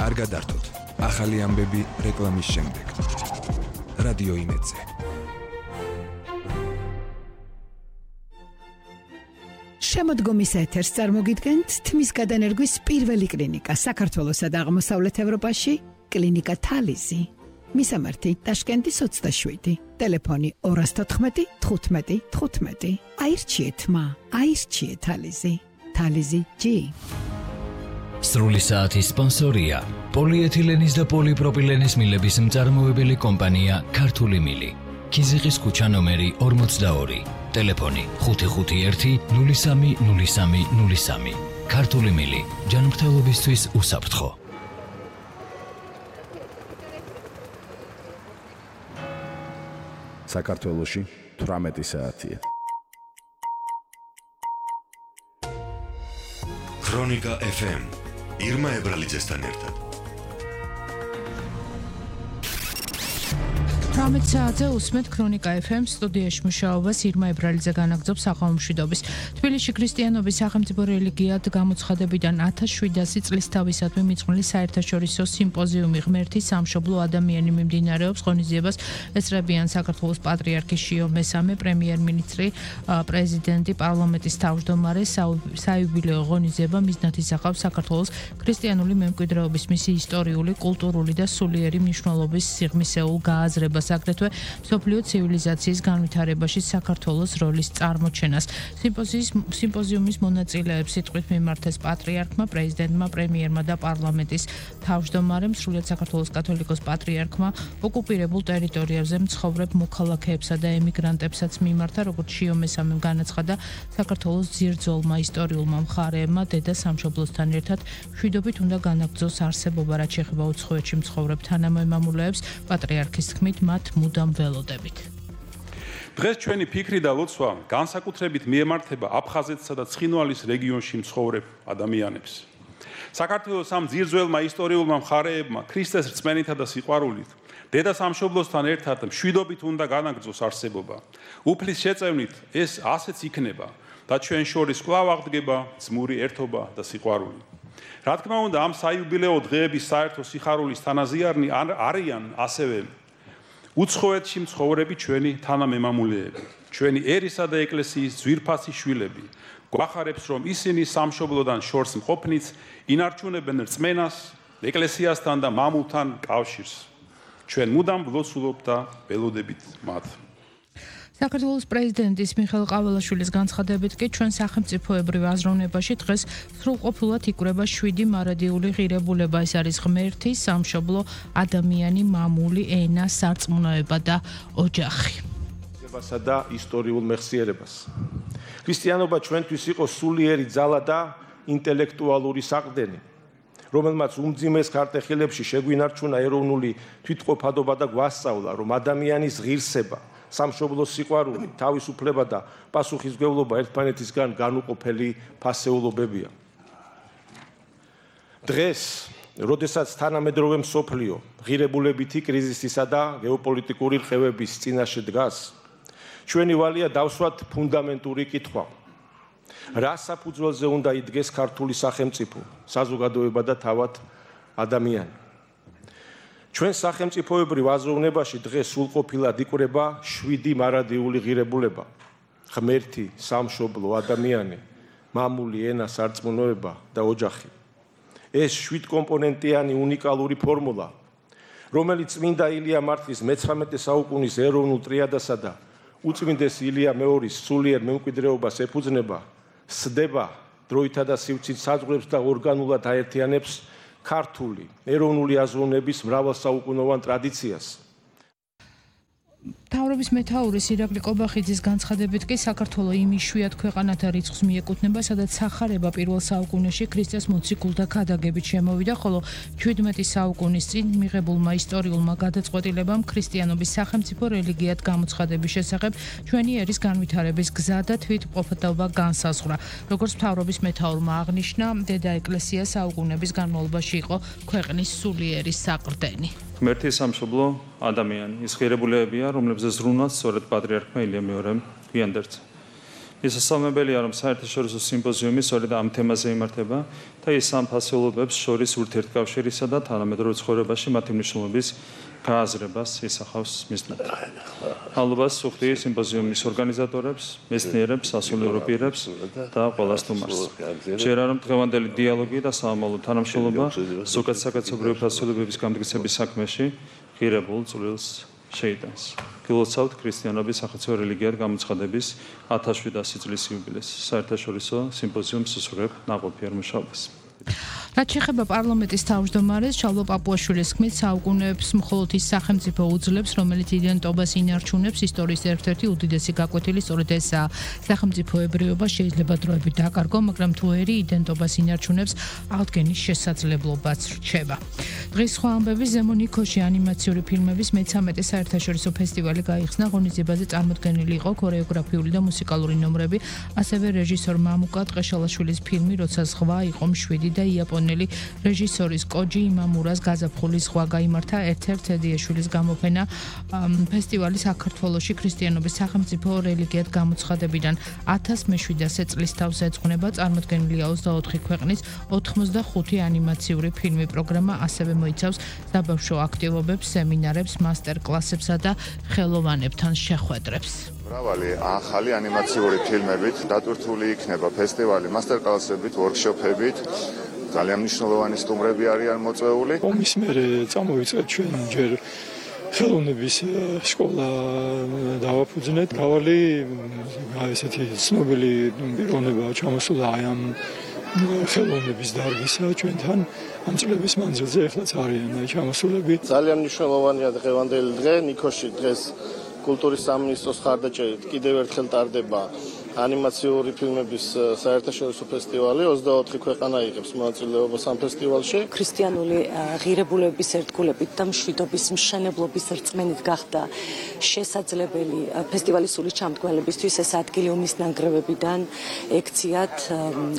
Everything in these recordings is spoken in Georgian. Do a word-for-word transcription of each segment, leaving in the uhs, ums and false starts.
კარგად ართოთ. ახალი ამბები რეკლამის შემდეგ. რადიო იმედზე. შემოდგომის ეთერს წარმოგიდგენთ თმის გადანერგვის პირველი კლინიკა საქართველოსა და აღმოსავლეთ ევროპაში, კლინიკა თალიზი. მისამართი ტაშკენტის ოცდაშვიდი, ტელეფონი ორას თოთხმეტი თხუთმეტი თხუთმეტი. აირჩიეთ მა, აირჩიეთ თალიზი. თალიზი ჯი. სრული საათის სპონსორია პოლიეთილენის და პოლიპროპილენის მილების მწარმოებელი კომპანია ქართული მილი. ქიზიყის ქუჩა ნომერი ორმოცდაორი. ტელეფონი ხუთი ხუთი ერთი ნული სამი ნული სამი ნული სამი. ქართული მილი ჯანმრთელობისთვის უსაფრთხო. საქართველოში თვრამეტი საათია. ქრონიკა ეფ ემ ირმა ებრალიძესთან ერთად. თვრამეტ საათზე უსმენთ ქრონიკა ეფ ემ სტუდიაში მუშაობას ირმა ებრალიძე განაგრძობს საყოველთაობის. თბილისში ქრისტიანობის სახელმწიფო რელიგიად გამოცხადებიდან ათას შვიდასი წლის თავისადმი მიძღვნილი საერთაშორისო სიმპოზიუმი ღმერთის სამშობლო ადამიანი მიმდინარეობს. ღონისძიებას ესწრებიან საქართველოს პატრიარქი შიო მესამე, პრემიერ-მინისტრი, პრეზიდენტი, პარლამენტის თავმჯდომარე. საიუბილეო ღონისძიება მიზნად ისახავს საქართველოს ქრისტიანული მემკვიდრეობის მისი ისტორიული, კულტურული და სულიერი მნიშვნელობის სიღრმისეულ გააზრებას. აგრეთვე მსოფლიო ცივილიზაციის განვითარებაში საქართველოს როლის წარმოჩენას. სიმპოზიის სიმპოზიუმის მონაწილეებს სიტყვით მიმართეს პატრიარქმა, პრეზიდენტმა, პრემიერმა და პარლამენტის თავმჯდომარემ, სრულიად საქართველოს კათოლიკოს პატრიარქმა ოკუპირებულ ტერიტორიებზე მცხოვრებ მოქალაქეებსა და ემიგრანტებსაც მიმართა, როგორც შიო მესამემ განაცხადა, საქართველოს ძირძოლმა ისტორიულმა მხარეებმა დედა სამშობლოსთან ერთად მშვიდობით უნდა განაგრძოს არსებობა, რაც შეეხება უცხოეთში მცხოვრებ თანამემამულეებს. პატრიარქის თქმით, მათ მუდამ ველოდებით. დღეს ჩვენი ფიქრი და ლოცვა განსაკუთრებით მიემართება აფხაზეთსა და ცხინვალის რეგიონში მცხოვრებ ადამიანებს. საქართველოს ამ ძირძველმა ისტორიულმა მხარეებმა ქრისტეს რწმენითა და სიყვარულით დედა სამშობლოსთან ერთად მშვიდობით უნდა განაგრძოს არსებობა. უფლის შეწევნით ეს ასეც იქნება და ჩვენ შორის კვლავ აღდგება ძმური ერთობა და სიყვარული. რა თქმა უნდა, ამ საიუბილეო დღეების საერთო სიხარულის თანაზიარნი არიან ასევე უცხოეთში მცხოვრები ჩვენი თანამემამულეები, ჩვენი ერისა და ეკლესიის ძვირფასი შვილები. გვახარებს, რომ ისინი სამშობლოდან შორს მყოფნიც ინარჩუნებენ რწმენას, ეკლესიასთან და მამულთან კავშირს. ჩვენ მუდამ ვლოცულობთ და ველოდებით მათ. საქართველოს პრეზიდენტის მიხეილ ყაველაშვილის განცხადებით კი ჩვენ სახელმწიფოებრივ აზროვნებაში დღეს სრულყოფილად იკვრება შვიდი მარადიული ღირებულება. ეს არის ღმერთი, სამშობლო, ადამიანი, მამული, ენა, სარწმუნოება და ოჯახი. ებასა და ისტორიულ მეხსიერებას. ქრისტიანობა ჩვენთვის იყო სულიერი ძალა და ინტელექტუალური საყრდენი, რომელმაც უმძიმეს ქარტეხილებში შეგვინარჩუნა ეროვნული თვითყოფადობა და გვასწავლა, რომ ადამიანის ღირსება, სამშობლოს სიყვარული, თავისუფლება და პასუხისმგებლობა ერთმანეთისგან განუყოფელი ფასეულობებია. დღეს, როდესაც თანამედროვე მსოფლიო ღირებულებითი კრიზისისა და გეოპოლიტიკური რხევების წინაშე დგას, ჩვენი ვალია დავსვათ ფუნდამენტური კითხვა. რა საფუძველზე უნდა იდგეს ქართული სახელმწიფო, საზოგადოება და თავად ადამიანი? ჩვენ სახელმწიფოებრივ აზროვნებაში დღეს სრულყოფილად იკვრება შვიდი მარადიული ღირებულება: ღმერთი, სამშობლო, ადამიანი, მამული, ენა, სარწმუნოება და ოჯახი. ეს შვიდკომპონენტიანი უნიკალური ფორმულა, რომელიც წმინდა ილია მართლის მეცხრამეტე საუკუნის ეროვნულ ტრიადასა და უწმინდეს ილია მეორის სულიერ მემკვიდრეობას ეფუძნება, სდება დროითა და სივრცით საზღვრებს და ორგანულად აერთიანებს ქართული ეროვნული აზროვნების მრავალსაუკუნოვან ტრადიციას. მთავრობის მეთაურის ირაკლი კობახიძის განცხადებით კი საქართველო იმ იშვიათ ქვეყანათა რიცხვს მიეკუთვნება, სადაც სახარება პირველ საუკუნეში ქრისტეს მოციქულთა ქადაგებით შემოვიდა, ხოლო ჩვიდმეტი საუკუნის წინ მიღებულმა ისტორიულმა გადაწყვეტილებამ ქრისტიანობის სახელმწიფო რელიგიად გამოცხადების შესახებ ჩვენი ერის განვითარების გზა და თვითმყოფადობა განსაზღვრა. როგორც მთავრობის მეთაურმა აღნიშნა, დედა ეკლესია საუკუნების განმავლობაში იყო ქვეყნის სულიერი საყრდენი. ღმერთი სამშობლო ადამიანი, ის ღირებულებებია, რომლებზეც ზრუნვაც სწორედ პატრიარქმა ილია მეორემ გვიანდერცა. ის სასწაულებელია, რომ საერთაშორისო სიმპოზიუმი სწორედ ამ თემაზე იმართება და ის ამ ფასეულობებს შორის ურთიერთკავშირისა და თანამედროვე ცხოვრებაში მათი მნიშვნელობის გააზრებას ისახავს მიზნად. მადლობას სუხდი სიმპოზიუმის ორგანიზატორებს, მეცნიერებს, სასულიერო პირებს და ყველა სტუმარს. ჯერა რომ დღევანდელი დიალოგი და სამომავლო თანამშრომლობა ზოგადად საკაცობრიო ფასეულობების გამტკიცების საქმეში ღირებულ წვლილს შეიტანს. გილოცავთ ქრისტიანობის სახელმწიფო რელიგიად გამოცხადების ათას შვიდასი წლის იუბილეს. საერთაშორისო სიმპოზიუმს უსურვებ ნაყოფიერ მუშაობას. რაც შეეხება პარლამენტის თავმჯდომარეს ჩალვა პაპუაშვილის თქმით, საუკუნეებს მხოლოდ ის სახელმწიფო უძლებს, რომელიც იდენტობას ინარჩუნებს, ისტორიის ერთ-ერთი უდიდესი გაკვეთილი სწორედ ესაა. სახელმწიფოებრიობა შეიძლება დროებით დაკარგო, მაგრამ თუ ერი იდენტობას ინარჩუნებს, აღდგენის შესაძლებლობაც რჩება. დღის სხვა ამბები ზემო ნიქოში ანიმაციური ფილმების მეცამეტე საერთაშორისო ფესტივალი გაიხსნა. ღონისძიებაზე წარმოდგენილი იყო ქორეოგრაფიული და მუსიკალური ნომრები, ასევე რეჟისორ მამუკა ტყეშალაშვილის ფილმი როცა ზღვა იყო მშვიდი და იაპონელი რეჟისორის კოჯი იმამურას გაზაფხულის ზღვა გაიმართა ერთ-ერთ ედიაშვილის გამოფენა ფესტივალი საქართველოში ქრისტიანობის სახელმწიფო რელიგიად გამოცხადებიდან ათას მეშვიდასე წლის თავს ეძღვნება. წარმოდგენილია ოცდაოთხი ქვეყნის ოთხმოცდახუთი ანიმაციური ფილმი. პროგრამა ასევე მოიცავს საბავშვო აქტივობებს, სემინარებს, მასტერ-კლასებსა და ხელოვანებთან შეხვედრებს. მრავალი ახალი ანიმაციური ფილმებით დატვირთული იქნება ფესტივალი მასტერ-კლასებით, ვორქშოპებით. ძალიან მნიშვნელოვანი სტუმრები არიან მოწვეული. ომის მერე წამოვიწყეთ ჩვენ ჯერ ხელოვნების სკოლა დავაფუძნეთ. მრავალი ესეთი ცნობილი პიროვნება ჩამოსულა აი ამ ხელოვნების დარგისა ჩვენთან ამ წლების მანძილზე ეხლაც არიან აი ჩამოსულები. ძალიან მნიშვნელოვანია დღევანდელი დღე ნიქოში დღეს კულტურის სამინისტროს ხარდაჭერით კიდევ ერთხელ ტარდება ანიმაციური ფილმების საერთაშორისო ფესტივალი. ოცდაოთხი ქვეყანა იღებს მონაწილეობას ამ ფესტივალში. ქრისტიანული ღირებულებების ერთგულებით და მშვიდობის მშენებლობის რწმენით გახდა შესაძლებელი ფესტივალის სული ჩამდგმელებისთვის ეს ადგილი ომის ნანგრევებიდან ექციათ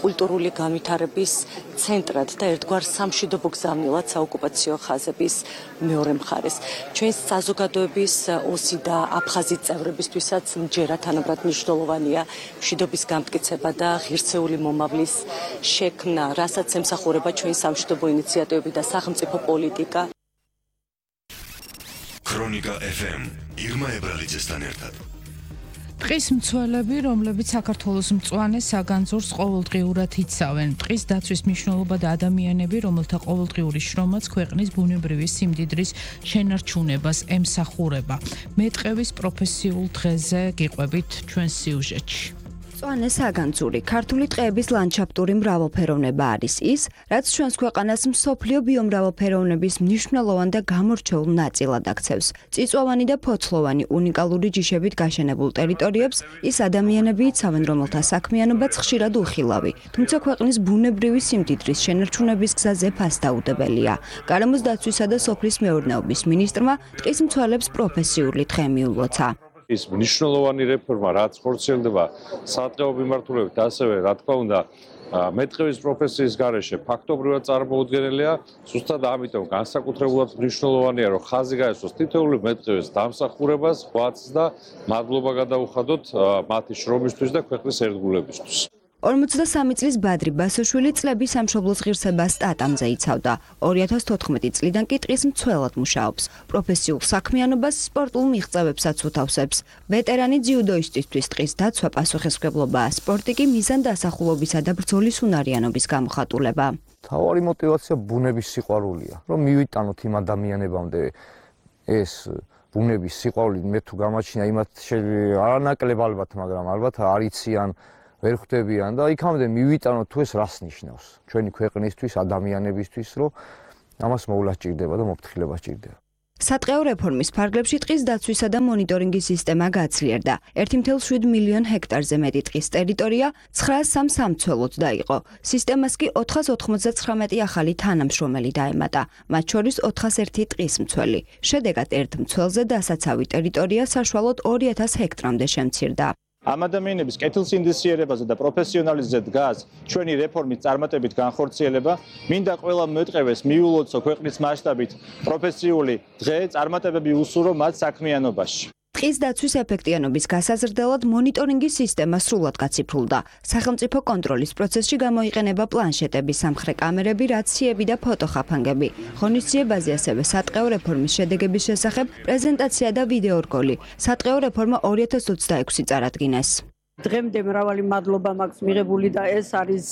კულტურული განვითარების ცენტრად და ერთგვარ სამშვიდობო გზავნილად საოკუპაციო ხაზების მეორე მხარეს. ჩვენს საზოგადოების ოსი და აფხაზი წევრებისთვისაც მჯერა თანაბრად მნიშვნელოვანია მშვიდობის გამტკიცება და ღირსეული მომავლის შექმნა, რასაც ემსახურება ჩვენი სამშვიდობო ინიციატივები და სახელმწიფო პოლიტიკა. ქრონიკა ეფ ემ ირმა ებრალიძესთან ერთად. ტყის მცველები, რომლებიც საქართველოს მწვანე საგანძურს ყოველდღიურად იცავენ. ტყის დაცვის მნიშვნელობა და ადამიანები, რომელთა ყოველდღიური შრომაც ქვეყნის ბუნებრივი სიმდიდრის შენარჩუნებას ემსახურება. მეტყევის პროფესიულ დღეზე გიყვებით ჩვენს სიუჟეტში. მწვანე საგანძური ქართული ტყეების ლანდშაფტური მრავალფეროვნება არის ის, რაც ჩვენს ქვეყანას მსოფლიო ბიომრავალფეროვნების მნიშვნელოვან და გამორჩეულ ნაწილად აქცევს. წიწვოვანი და ფოთლოვანი უნიკალური ჯიშებით გაშენებულ ტერიტორიებს ის ადამიანები იცავენ, რომელთა საქმიანობაც ხშირად უხილავი, თუმცა ქვეყნის ბუნებრივი სიმდიდრის შენარჩუნების გზაზე ფასდაუდებელია. გარემოს დაცვისა და სოფლის მეურნეობის მინისტრმა ტყის მცველებს პროფესიული დღე მიულოცა. ის მნიშვნელოვანი რეფორმა, რაც ხორციელდება სატყეო მიმართულებით, ასევე რა თქმა უნდა მეტყევის პროფესიის გარეშე ფაქტობრივად წარმოუდგენელია. ზუსტად ამიტომ განსაკუთრებულად მნიშვნელოვანია, რომ ხაზი გაესვას თითოეული მეტყევის დამსახურებას, ღვაწს და მადლობა გადაუხადოთ მათი შრომისთვის და ქვეყნის ერთგულებისთვის. ორმოცდასამი წლის ბადრი ბასოშვილი წლების სამშობლოს ღირსებას სტატამზე იცავდა. ორი ათას თოთხმეტი წლიდან კი ტყის მცველად მუშაობს. პროფესიულ საქმიანობას სპორტულ მიღწევებსაც უთავსებს. ვეტერანი ძიუდოისტისთვის ტყის დაცვა პასუხისმგებლობაა, სპორტი კი მიზან დასახულობისა და ბრძოლის უნარიანობის გამოხატულება. თავარი мотиваცია ბუნების სიყვარულია, რომ მივიტანოთ იმ ადამიანებამდე ეს ბუნების სიყვარული. მე თუ გამაჩნია იმათ არანაკლებ ალბათ, მაგრამ ალბათ არ იციან ვერ ხვდებიან და იქამდე მივიტანოთ თუ ეს რას ნიშნავს ჩვენი ქვეყნისთვის, ადამიანებისთვის, რომ ამას მოვლა სჭირდება და მოფრთხილება სჭირდება. სატყეო რეფორმის ფარგლებში ტყის დაცვისა და მონიტორინგის სისტემა გაძლიერდა. ერთი წუთი შვიდ მილიონ ჰექტარზე მეტი ტყის ტერიტორია ცხრაას სამ სამცველოდ დაიყო. სისტემას კი ოთხას ოთხმოცდაცხრამეტი ახალი თანამშრომელი დაემატა, მათ შორის ოთხას ერთი ტყის მცველი. შედეგად ერთ მცველზე დასაცავი ტერიტორია საშუალოდ ორი ათას ჰექტრამდე შემცირდა. ამ ადამიანების კეთილსინდისიერებაზე და პროფესიონალიზმზე დგას ჩვენი რეფორმის წარმატებით განხორციელება. მინდა ყველა მეტყევეს მიულოცო ქვეყნის მასშტაბით პროფესიული დღე, წარმატებები უსურვო მათ საქმიანობაში. ტყის დაცვის ეფექტიანობის გასაზრდელად მონიტორინგის სისტემა სრულად გაციფრულდა. სახელმწიფო კონტროლის პროცესში გამოიყენება პლანშეტები, სამხრე კამერები, რაციები და ფოტოხაფანგები. ღონისძიებაზე ასევე სატყეო რეფორმის შედეგების შესახებ პრეზენტაცია და ვიდეორგოლი. სატყეო რეფორმა ორი ათას ოცდაექვსი წარადგინეს. დღემდე მრავალი მადლობა მაქვს მიღებული და ეს არის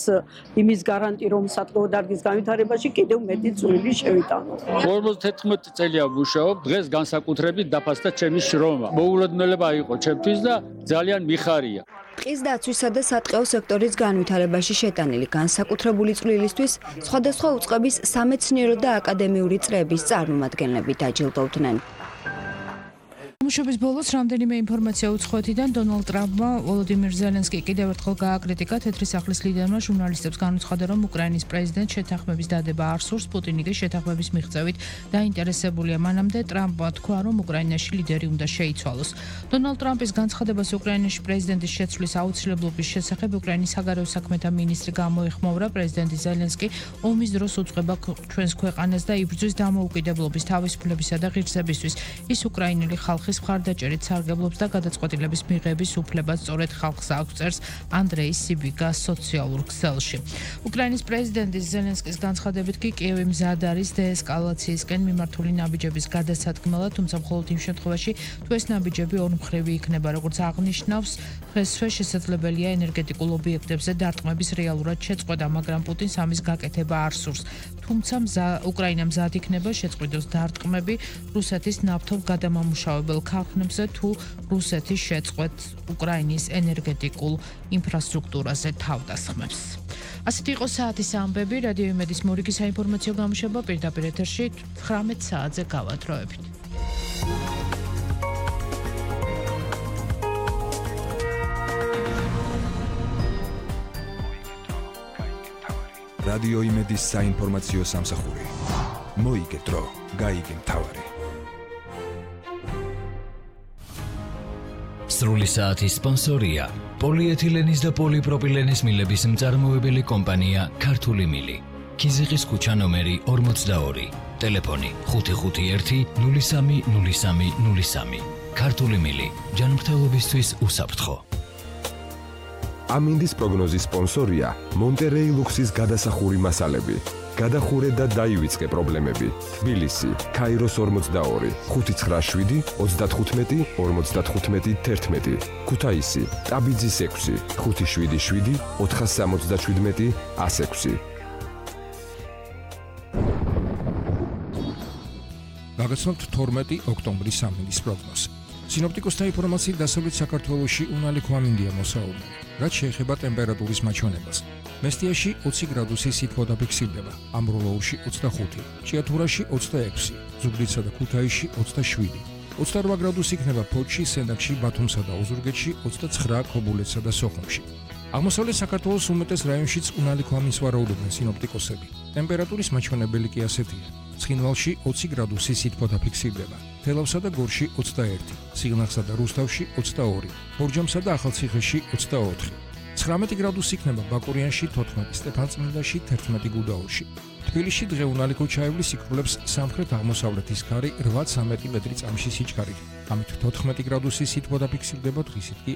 იმის გარანტი, რომ სატყეო დარგის განვითარებაში კიდევ მეტი წვლილი შევიტანო. ორმოცდათერთმეტი წელია ვმუშაობ, დღეს განსაკუთრებით დაფასდა ჩემი შრომა. მოულოდნელობა იყო ჩემთვის და ძალიან მიხარია. ტყის დაცვისა და სატყეო სექტორის განვითარებაში შეტანილი განსაკუთრებული წვლილისთვის სხვადასხვა უწყების სამეცნიერო და აკადემიური წრეების წარმომადგენლები დაჯილდოვდნენ. მუშობის ბოლოს რამდენიმე ინფორმაცია უცხოეთიდან დონალდ ტრამპმა ვოლოდიმირ ზელენსკი კიდევ ერთხელ გააკრიტიკა. თეთრი სახლის ლიდერმა ჟურნალისტებს განუცხადა, რომ უკრაინის პრეზიდენტ შეთანხმების დადება არ სურს, პუტინი კი შეთანხმების მიღწევით დაინტერესებულია. მანამდე ტრამპმა თქვა, რომ უკრაინაში ლიდერი უნდა შეიცვალოს. დონალდ ტრამპის განცხადებას უკრაინაში პრეზიდენტის შეცვლის აუცილებლობის შესახებ უკრაინის საგარეო საქმეთა მინისტრი გამოეხმაურა. პრეზიდენტი ზელენსკი ომის დროს უწყება ჩვენს ქვეყანას და იბრძვის დამოუკიდებლობის, თავისუფლებისა და ღირსებისთვის. ის უკრაინელი ხალხის მხარდაჭერით სარგებლობს და გადაწყვეტილების მიღების უფლებას სწორედ ხალხს აქვს, წერს ანდრეი სიბიგა სოციალურ ქსელში. უკრაინის პრეზიდენტის ზელენსკის განცხადებით კი კიევი მზად არის დეესკალაციისკენ მიმართული ნაბიჯების გადასადგმელად, თუმცა მხოლოდ იმ შემთხვევაში, თუ ეს ნაბიჯები ორმხრივი იქნება, როგორც აღნიშნავს, დღესვე შესაძლებელია ენერგეტიკულ ობიექტებზე დარტყმების რეალურად შეწყვეტა, მაგრამ პუტინს ამის გაკეთება არ სურს. თუმცა უკრაინა მზად იქნება შეწყვიტოს დარტყმები რუსეთის ნავთობ გადამამუშავებელ ქარხნებზე თუ რუსეთი შეწყვეტს უკრაინის ენერგეტიკულ ინფრასტრუქტურაზე თავდასხმებს. ასეთი იყო საათის ამბები, რადიო იმედის მორიგი საინფორმაციო გამოშვება პირდაპირ ეთერში ცხრამეტ საათზე გავათროებით. რადიო იმედის საინფორმაციო სამსახური. მოიგე დრო, გაიგე მთავარი. სრული საათის სპონსორია პოლიეთილენის და პოლიპროპილენის მილების მწარმოებელი კომპანია ქართული მილი. ქიზიყის ქუჩა ნომერი ორმოცდაორი. ტელეფონი ხუთი ხუთი ერთი ნული სამი ნული სამი ნული სამი. ქართული მილი. ჯანმრთელობისთვის უსაფრთხო. ამინდის პროგნოზის სპონსორია მონტერეი ლუქსის გადასახური მასალები. გადახურე და დაივიწყე პრობლემები. თბილისი, ქაიროს ორმოცდაორი, ხუთი ცხრა შვიდი ოცდათხუთმეტი ორმოცდათხუთმეტი თერთმეტი. ქუთაისი, ტაბიძის ექვსი, ხუთი შვიდი შვიდი ოთხას სამოცდაშვიდმეტი ას ექვსი. გაგაცნობთ თორმეტი ოქტომბრის ამინდის პროგნოზი. სინოპტიკოსთა ინფორმაციით დასავლეთ საქართველოში უნალი ქვამინდია მოსაუბრებელი. რაც შეეხება ტემპერატურის მაჩვენებას. მესტიაში ოცი გრადუსი სითბო დაფიქსირდება, ამბროლოურში ოცდახუთი, ჭიათურაში ოცდაექვსი, ზუგდიდსა და ქუთაისში ოცდაშვიდი. ოცდარვა გრადუსი იქნება ფოთში, სენაკში, ბათუმსა და ოზურგეთში, ოცდაცხრა ქობულეთსა და სოხუმში. აღმოსავლეთ საქართველოს უმეტეს რაიონშიც უნალი ქვამინს ვარაუდობენ სინოპტიკოსები. ტემპერატურის მაჩვენებელი კი ასეთია. ცხინვალში ოცი გრადუსი სითბო დაფიქსირდება, თელავსა და გორში ოცდაერთი, სიღნაღსა და რუსთავში ოცდაორი, ბორჯომსა და ახალციხეში ოცდაოთხი. ცხრამეტი გრადუსი იქნება ბაკურიანში, თოთხმეტი სტეფანწმინდაში, თერთმეტი გუდაურში. თბილისში დღე უნალი ქუჩაევლის იკვლევს სამხრეთ-აღმოსავლეთის ქარი რვა ცხრამეტი მეტრი წამში სიჩქარით. ამით თოთხმეტი გრადუსი სითბო დაფიქსირდება, დღისით კი